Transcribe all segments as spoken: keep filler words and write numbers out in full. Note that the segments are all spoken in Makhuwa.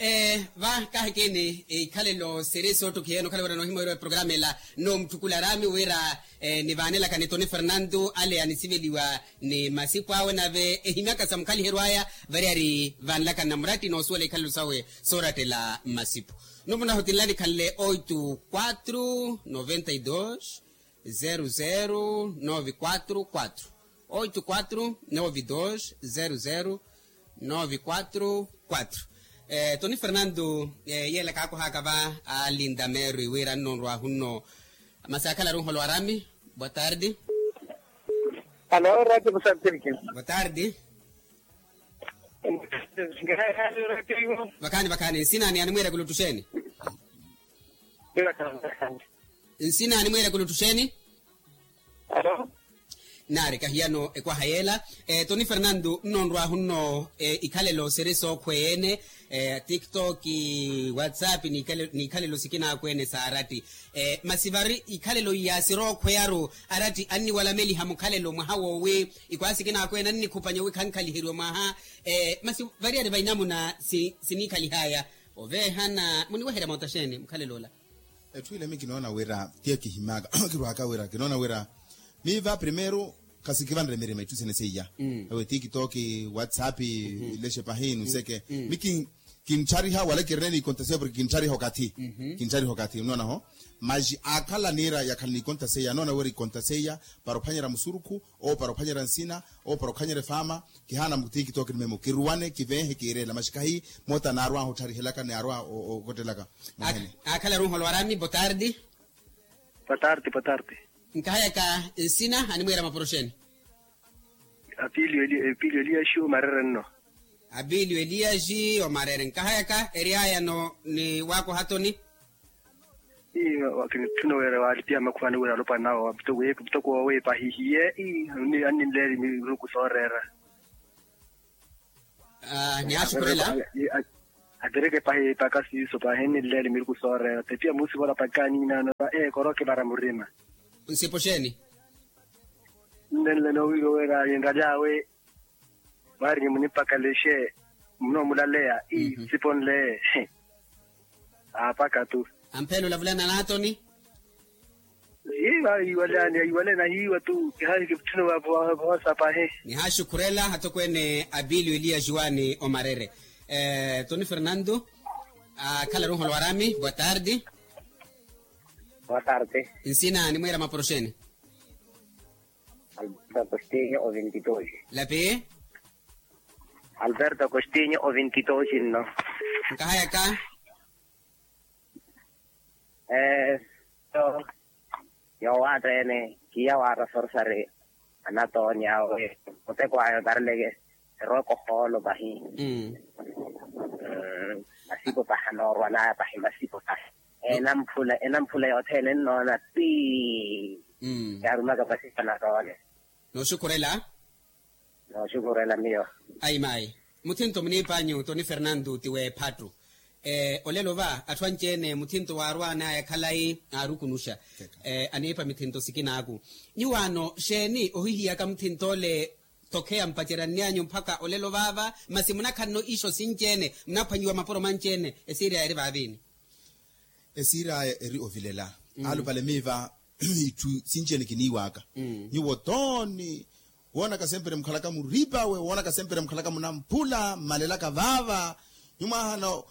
Ee, va kaahikini ikhalelo siri soottukiha eno okhala wira noohimwa wira eprogramu ela nnoomutthukula araami wira nivaanelakani toni fernanto ale anisiveliwa ni masipu awe nave ehimyaka sa mukhaliheryo aya variyari vaanelakani na muratti noosuwela ikhalelo sawe soorattela mmasipu. Numuna hotinlani khanle oito quatro noventa e dois zero zero nove quatro quatro oito quatro nove dois zero zero nove quatro quatro. Toni fernanto yeela kaakohaka va alinda merwi wira nno nrwahu nno. Masi akhala runholo arami. Boa tarde. Alo radio musantirikin. Boa tarde. Vakhaani vakhaani nsinani animwiira kuluttuxeeni? Nsinani mwiira kuluttuxeeni? Alo. Naari kahiyano ekwaha yeela. Toni fernanto nno nrwahu nno ikhalelo siri sookhweya ene. Tiktok, whatsapp n'ikhalelo sikinaakweene saaratti. Masi vari ikhalelo iya sirookhweyaru aratti anniwalameliha mukhalelo mwaha woowi ikwaha sikinaakweene annikhupanya wi khankhaliheryiwe mwaha. Masi variyari vainamuna siniikhalihaya oveehana muniweherya moota xeeni mukhalelo ola? Etthu ile mi kinoona wira tiya kihimyaka kirwaaka wira kinoona wira miiva primeiro khasikivanre mirima itthu sene seiya. Ewe tiktok, whatsapp, ilexe pahi nuseke mi kintthariha wala kirina ni ikonta seiya porke kintthariha okathi. Kintthariha okathi nnoona ho. Maxi aakhala niira yakhala ni ikonta seiya anoona wira ikonta seiya para ophwanyerya musurukhu, ou para ophwanyerya nsina, ou para ophwanyerya efaama. Kihaana mu tiktok ni memo kiruwane kiveehe kiireela maxi kahi moota naarwaha ottharihelaka naarwaha okottelaka. Akhalaru nholwarami botardi. Botardi botardi. Nkahayaka nsina animwiira maporoxeni. Apilio eliaxi omarere nno. Apilio eliaxi omarere nkahayaka eriayano ni waakohatoni. Ii wakinitthuna wira waalipiha makhuwani wira alopwana awo mutoko woowiipa ahihiye. Ii anninleeli miruku sooreera. Nihaxukhurela. Atireke pahi epaka siiso pahi enninleeli miruku sooreera tepiya muusivola paka aniinaano va ee koroke vara murima. Nsipo xeeni? Nnenle noowiiwa wira ninraly'awe. Mwaari nyi munipakalexe munoomulaleya ii nsiponle. Aapaka tu. Ampheela olavulana n'atoni. Hiiva ahiiwale ani ahiiwale nahiiwa tu kihaahi kivutthuna voosa pahi. Nihaxukhurela atokweene apilio eliya juwani omarere. Toni fernando. Akhalaru nholwarami boa tardi. Boa tardi. Nsina animwiira maporoxeni. Alberto agostinho ovintitoxi. Lapi. Alberto agostinho ovintitoxi nno. Nkahayaka. Ee so yoowaatteene kiya waarasorsari anatoonya awe muteko ayo tarileke erooka ohoolo pahi. Masipo pahi anoorwanaya pahi masipo pahi. Enamphula enamphula yothene ennoona pi. Yaarumaka masipo anatoole. Nooxukhurela. Nooxukhurela miyo. Ayi mayi. Muthinto muniipanyu toni fernando ti weephattu. Olelo va atthu anci-ene muthinto waarwanaya khalayi aarukunuxa. Aniipa mithinto sikinaaku. Nyuwaano xeeni ohihiyaka muthinto ole? Tokheya mpaceryanny'anyu mpakha olelo vaava masi munakhanno ixo sinci-ene munaphwanyiwa mapuro manci-ene. Esiiriyaya eri vaaviini? Esiiriyaya eri ovilela. Alupale miiva itthu sinci-ene kiniiwaka. Nyuwo tooni woonaka sempre mukhalaka muripawe woonaka sempre mukhalaka munamphula mmalelaka vaava. Nyuwo mwaahana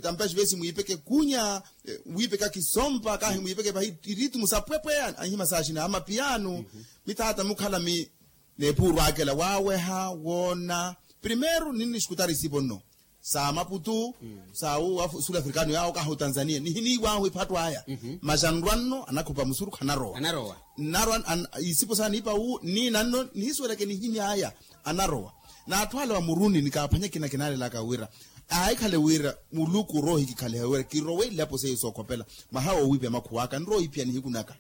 tampaxi vesi mwiipeke kunya wiipeka kisompa kahi mwiipeke pahi iritimu sapwepwe anhima saaxina amapiyanu. Mithaata mukhala mi neepuurwakela waaweha woona primeiro ninnixukutari isipo nno sa maputu sa sul africano yaawo kahi otanzania nihiniiwahu ephattu aya. Masi anrwa nno anakhupa musurukhu anarowa. Nnarwa isipo saaniipa wu nniina nno nihisuweleke nihimy'aya anarowa. N'atthu ale wa muruni nikaaphwanya ekina kinaalelaka wira aahikhale wira muluku oroohikikhaliha wira kirowe ilapo seiyo sookhopela mwaha woowiipya makhuw'aka nrowa owiiphiya nihiku naka.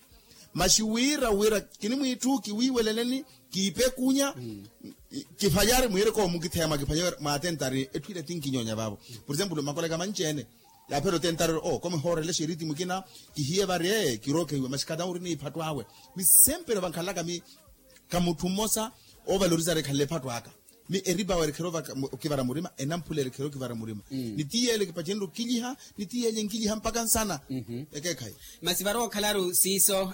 Masi wira wira kinimwiitthu kiwiiweleleni kiipe ekunya kiphanyari mwiireke owo mukitheya mwakiphanya wira mwaatentari etthu ila ti nkinyoonya vaavo. Por exemplo makoleka manci-ene yaaphela otentari ori oo komihoorelexa eritimu ekina kihiye vari ee kirookehiwa masi khata ori ni ephattu awe. Mi sempre vankhalaka mi ka mutthu mmosa oovalorizari ekhanle ephattu aka. Mi eripawa erekhera okivara murima, enamphula erekhera okivara murima. Ni ti yeele kipacenre okiliha, ni ti yeele nkiliha mpakha nsana. Ekeekhayi. Masi varowa okhalaru siiso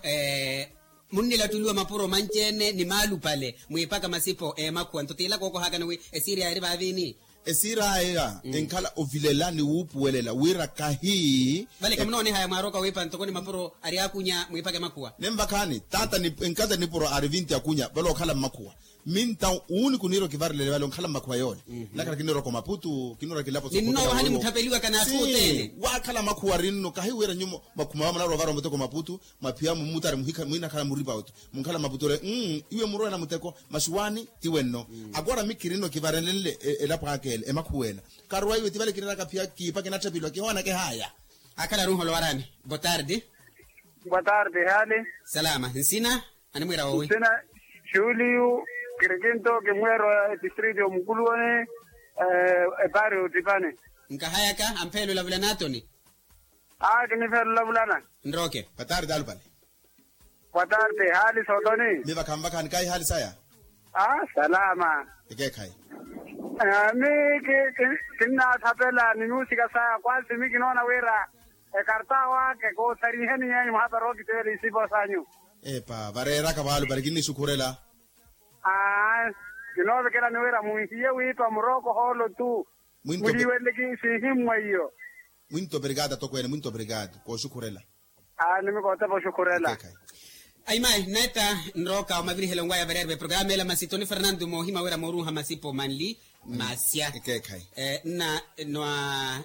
munnilattuliwa mapuro manci-ene ni maalupale mwiipaka masipo emakhuwa nto tiila kookohaakani wi esiiri aya eri vaaviini? Esiiri aya enkhala ovilela ni wuupuwelela wira kahi. Vale kamunoonihaya mwaarooka wiipa ntoko ni mapuro ari akunya mwiipaka emakhuwa. Nenvakhaani taata enkata nipuro ari vinti akunya vale okhala mmakhuwa. Minta uuni kuniira okivarelele vale onkhala mmakhuwa yoole. Nakhala kiniira okomaputu kiniira kilapo. Ninnoova hanimuthapeliwaka n'atthu othene. Waakhala makhuwa rinno kahi wira nyumo makhuma vamunarowa varomoteko maputu. Mwaphiya mumutari muhikha mwinakhala muripa otu munkhala maputu ore. Iwe murowe na muteko masi waani ti wenno. Akora mi kirinno kivarenlenle elapo aka ele emakhuwa ela. Karowa iwe ti vale kiriraka phiya kiipa kinatthapeliwa kihooneke haya. Akhala aruholo waraani. Botardi. Botardi hali. Salama nsina. Animwiira woowi? Nsina juliyu. Kirikinto kimweero ya distrito mukuluwani. Epaari otipani. Nkahayaka ampheela olavula n'atoni. Aa kinipheela olavulana. Nrooke. Botardi alupale. Botardi haali sootoni. Mi vakhanvakhani kaayi haali saya. Aa salama. Ekeekhayi. Mi kinnaathapela ni nuusika saya kwasi mi kinoona wira ekarta waka koothariiheni nyeenyu muhapari ookiteela isipo sanyu. Epa vareeraka vaalupale kinnisukhurela. Aa kinoovekelani wira munhiye wiipa murooko hoolo tu. Muliiwenle siihimmwa iyo. Mwinto obrigado atokweene mwinto obrigado kooxukhurela. Aani mi kootepa oxukhurela. Ayimayi netta nrooka omavirihelo nwaya variyari veprograma ela masi toni fernando moohima wira mooruuha masipo manli. Masya. Nna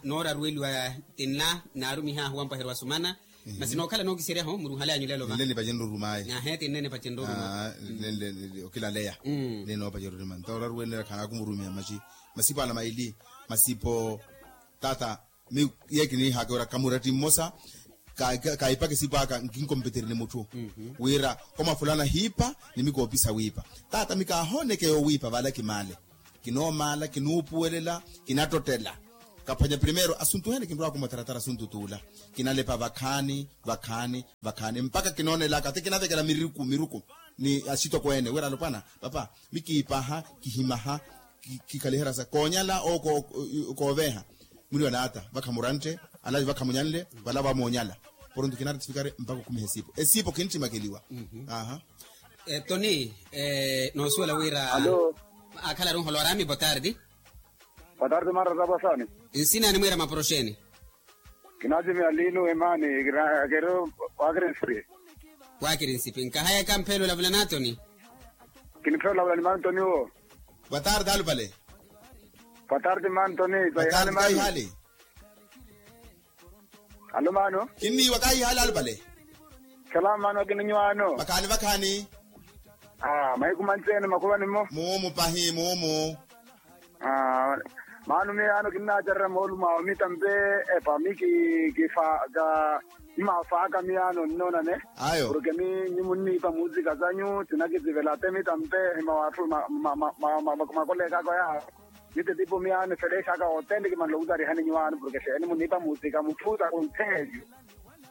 nooraruweliwa tinla naarumihahu wampwaherya wasumana. Masi nookhala nookiseryaho muruhale anyu lelo va. Nle nipacenruruma ayi. Ahe tinne nipacenruruma. Nle okilaleya. Nle noopacenruruma nto oraruwene khanaakumurumya masi. Masipo ala maili masipo. Tata mi ye kiniihaka wira kamuratti mmosa. Kaipaka esipo aka nkinkompeterye ni mutthu wira koma fulana hiipa ni mi koopisa wiipa. Tata mi kaahoonekeya owiipa vale kimaale. Kinoomaala kinuupuwelela kinattottela. Kaphwanya primeiro asuntuhene kinrwaka omotaratara asuntu t'ula. Kinalepa vakhaani vakhaani vakhaani mpakha kinoonelaka ti kinavekela miruku miruku ni axitokweene wira alopwana. Papa mi kiipaha kihimaha kikhaliherya sa koonyala ou kooveeha. Mwili wa naata vakha murantte alavi vakha munyanle vala vamoonyala. Poronto kinaretifikare mpakha okhumiha esiipo esiipo kinttimakeliwa. Aha. Toni noosuwela wira akhala aruholo araami botardi. Botardi marra tapasani. Nsina animwiira mapuro xeeni? Kinaatimiya lino emaani. Kiri wakirinsipi. Wakirinsipi nkahayaka mpheela olavula n'atoni. Kiniphela olavula ni mantoni wo. Boa tarde alupale. Boa tarde mantoni. Kaihali. Alo mano. Kinniiwa kaihali alupale. Salama mano akininywano. Vakhaani vakhaani. Mahiku manci ene makhulwani mmo. Muumu pahi muumu. Maano miyo yaano kinnaacererya moolumo awo mitampe. Epa mi kifaaka. Mmafaaka miyo yaano nnoonane. Ayo porke mi nyi munniipa muusika sanyu sinakisivela te mitampe. Hima watthu makoleekaka oyaha. Mitetipo miyo yaano efeleexaka othene kimanle okusarihani nyi waano porke xeeni munniipa muusika mutthu takuntheelyo.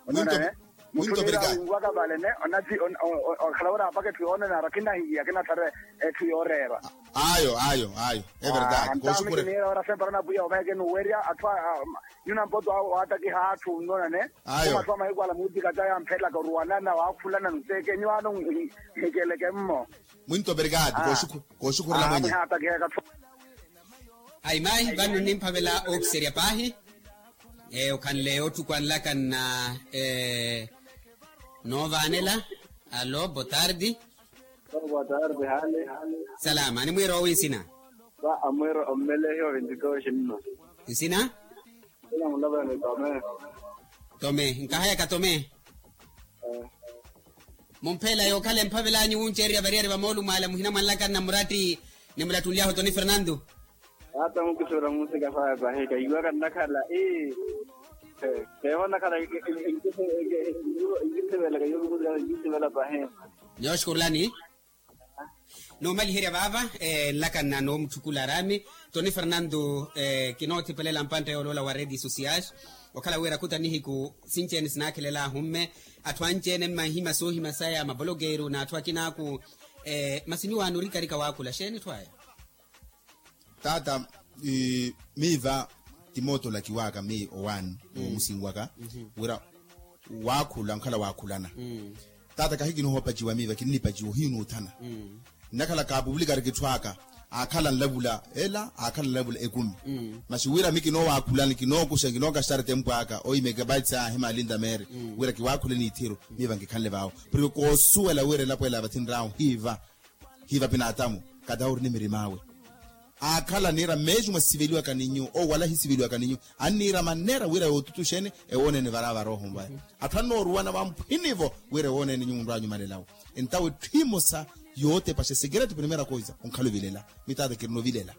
Onona e. Mutthu niira awinwaka vale ne onati. Okhala wira apaka etthu yoonanara kinahiya kinathara etthu yooreerwa. Ayo ayo ayo. Everdade antamu kiniira wira sempara na pwiya ovaeke nuwerya atthu nyuna mpoto awo waatakiha atthu nnona ne. Ayo atthu amahiku ala muutikaca yamphelaka oruwanana waakhulana nseeke nyu ano. Nhikeleke mmo. Mwinto obrigado. Kooxukhurela mwenye. Ayimayi vano nnimphavela ookiserya paahi. Okhanle otthu kwanlaka nna noovaanela. Alo boa tarde. Boa tarde hale. Salama animwiira owi nsina? Amwiira ommelehi ovintikoxi nno. Nsina? Nsina mulapelani tome. Tome nkahayaka tome. Mumpheela yookhala emphavel'anyu wunceererya variyari va moolumo ala muhina mwanlaka nna muratti nimulattunly'ahu toni fernando. Taata mukisivela muusika faya pahi kahiwaka nnakhala ii. Keevo nnakhala nkisivelaka yookisivela nkisivelaka pahi. Nyooxukurulani. Noomaliherya vaava nlaka nna noomutthukula araami. Toni fernando. Kinoothipelela mpantta yooloola wa redes sociais. Okhala wira khuta nihiku sinci-ene sinaakhelel'ahu mme atthu anci-ene mmanhima soohima saya mapolokeru n'atthu akin'aku. Masi nyuwaano orikarika waakhula xeeni etthu aya? Taata, miiva ti mootolakiwaka miyo owaani omusinwaka wira waakhula onkhala waakhulana. Taata kahi kinoohopaciwa miiva kinnipaciwa ohiinuuthana. Nnakhala kaapupulikari kitthu aka, aakhala nlavula ela aakhala nlavula ekumi. Masi wira mi kinoowakhulani kinookuxa kinookaxitari tempu aka oimeke paitsi ahi maalinta meeri wira kiwaakhule n'ithiru. Miiva nkikhanle vaawo porke koosuwela wira elapo ela vathinryahu hiiva hiiva pinaatamu. Katawo ori ni mirim'awe aakhala niira mmeexi mwa sisiveliwaka ni nyuwo owo wala ahisiveliwaka ni nyuwo. Anniira maneera wira yootutuxeni ewooneene vara varooho mvaya. Atthu annooruwana vamphwinivo wira ewooneene nyuwo nrwaanyumalelawo. Entawo etthu emosa yootepaxa esekereto primeira koisa onkhala ovilela. Mitaata kirina ovilela.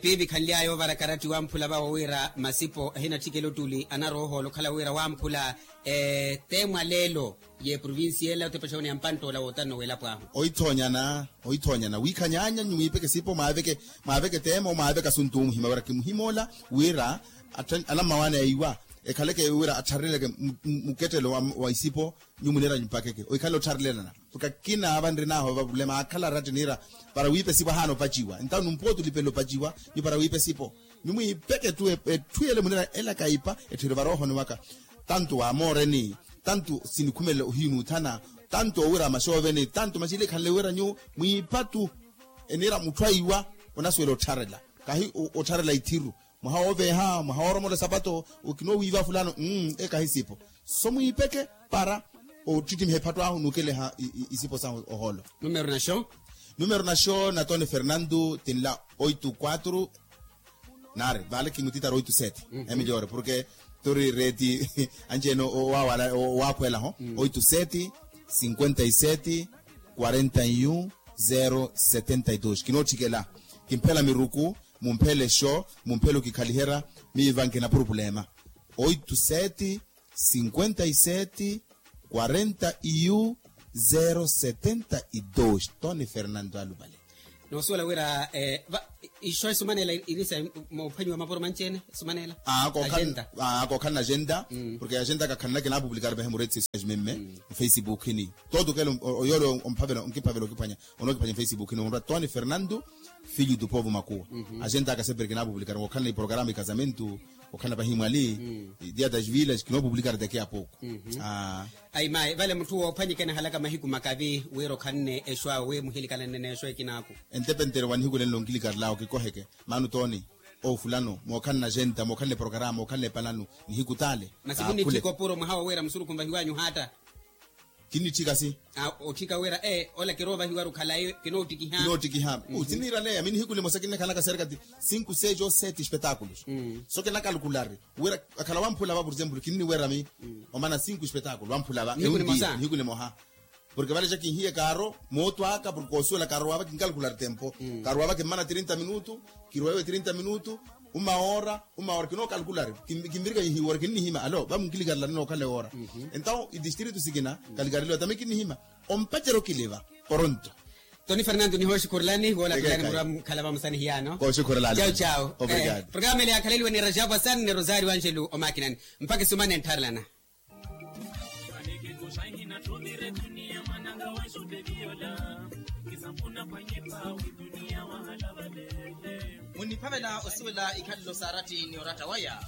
Piivi khanly'aya oovara karatti wamphula vawo wira masipo ahinatthikela ottuli anaroohoola okhala wira wamphula. Te mwa leelo y'eprovincia ela otepaxa wene ya mpantt'ola wootanno w'elapo ahu. Ohithoonyana ohithoonyana wiikhanyaanya nyu mwiipeke esipo mwaaveke mwaaveke teema omwaaveke asuntu omuhima wira kimuhim'ola wira anammawaani aiwa ekhaleke wira atthareleke muketthelo wa isipo. Nyu muniira nyumpakeke ohikhala ottharelelana. Porke akina ava nrinahu ava problema aakhala aratti niira para wiipa esipo ahaana opaciwa entawo numpooti olipela opaciwa. Nyu para wiipa esipo nyu mwiipeke etthu etthu yele muniira ela kaipa etthu yele varoohoni waka. Tanto waamooreni tanto sinikhumelela ohiinuuthana tanto owira maxooveni tanto maxili ekhanle wira nyu mwiipa tu. Eniira mutthu aiwa onasuwela ottharela kahi ottharela ithiru. Mwaha wooveeha mwaha wooromola esapato. Okinoowiiva fulano. Ekahi sipo so mwiipeke para ottitimiha epattw'ahu n'ukeleha isipo sahu ohoolo. Numero naxo numero naxo na toni fernando tinla oito quatro. Nari vale kimutitara oito sete. Emilhor porke tori reti anci ene owawala owaakhwelaho oito sete cinquenta e sete quarenta e um zero setenta e dos kinootthikela. Kimphela miruku mumphele exo mumphele okikhaliherya. Miiva nkina purupulema oito sete cinquenta e sete quarenta e um zero setenta e dos toni fernando aluvale. Noosuwela wira ixo esumanela irisa moophwanyiwa mapuro manci-ene esumanela. Akookhala na agenda porke agenda kakhalana kinaapupulikari vahe muretsi esiyajimemme mufacebook-ini. Toto kela oyoole omphavela onkiphanya onookiphanya mufacebook-ini onrwa toni fernando filho do povo makuwa. Agenda akaseperi kinaapupulikari ookhalana iporokaramu ikazamentu okhana pahimwali dia das vilas kinoopupulikara daki ya pouku. Ayi mayi vale mutthu woophwanyika enahalaka mahiku makavi wira okhanne exwaawe muhilikalanne n'exwa ekinaaku. Entepentere wa nihiku lenlo onkilikarelaka okikoheke maana otooni oofulano mookhanna agenda mookhanna eporokaramu mookhanna epalanu nihiku t'ale. Masi munnitthika opuro mwaha wowira musurukhu nvahiwanyu haatta. Kinnitthika si otthika wira ee ola kiroovahiwaru khalayi kinoottikiha. Kinoottikiha. Siniiraleya mi nihiku limosa kinnakhalaka serka ti cinco seis ou sete espetáculos. So kinakalukulari wira akhala wamphula va por exemplo kinniwerami omana cinco espetáculo wamphula va nihiku nimoha. Porke vale ja kinhiye kaaro mootwaka porke koosuwela kaaro wava kinkalukulari tempo. Kaaro wava kimmana trinta minutu kirwewe trinta minutu uma ora uma ora kinookalukulari. Kimvirika ihiwora kinnihima alo va munkilikarela ninookhala ewora. Entawo idistritu sikina kalikareliwa tami kinnihima ompacerya okiliva. Poronto toni fernando nihooxukhurelani woola tulani murwa mukhala vamusani hiyaano. Kooxukhurelani. Cau cau. Obrigado. Programa ele yaakhaleliwe ni rajabu asan ni rosario angelo omakinani mpakha esumana enttharelana. Munniphavela osuwela ikhalelo saaratti ni oratta waya.